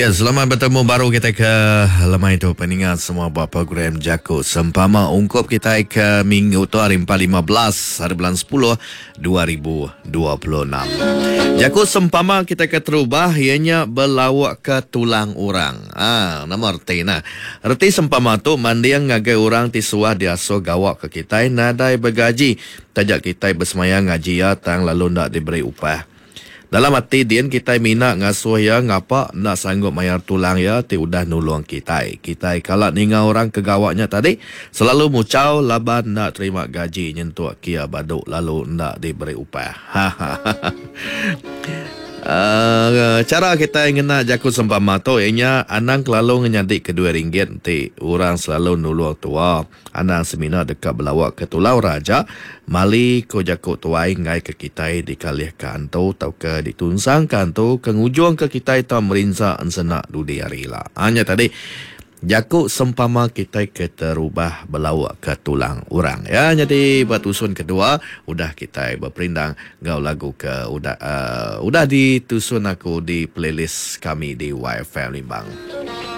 Ya, selamat betemu baru kita ke lemai tu peninga semua ba program Jaku Sempama ungkup kita ke minggu tu hari 4 15 hari bulan 10 2026. Jaku sempama kita ke terubah iya nya belauk ke tulang orang. Ah, nama reti nah. Reti sempama tu manding ngagai orang ti suah diasuh gawa ke kitai nadai begaji taja kitai besemaya ngaji iya tang lalu enda diberi upah. Dalam ati din kitai mina ngasuh iya ngapa enda sanggup mayar tulang iya ti udah nulung kitai. Kitai kala ninga orang ke gawa nya tadi selalu muchau laban enda terima gaji nyentuk kia badu lalu enda diberi upah. Hahaha. Uhh chara kitai ngena jaku sempama tu iya nya anang kelalu ngenyadika duit ringgit enti orang selalu nulung tua. Anang semina deka belawa ke tulau ra aja, mali ko jaku tuai enggai ke kitai dikalih ka antu tauka ditunsang ka antu ke ngujung ka kitai tau merinsa ensena dudi hari ila. Ha nya tadi jaku sempama kitai ke terubah belawa ke tulang orang. Ya nyadi ba tusun kedua udah kitai beperindang enggau lagu ke udah uhh udah ditusun aku di playlist kami di YFM Limbang.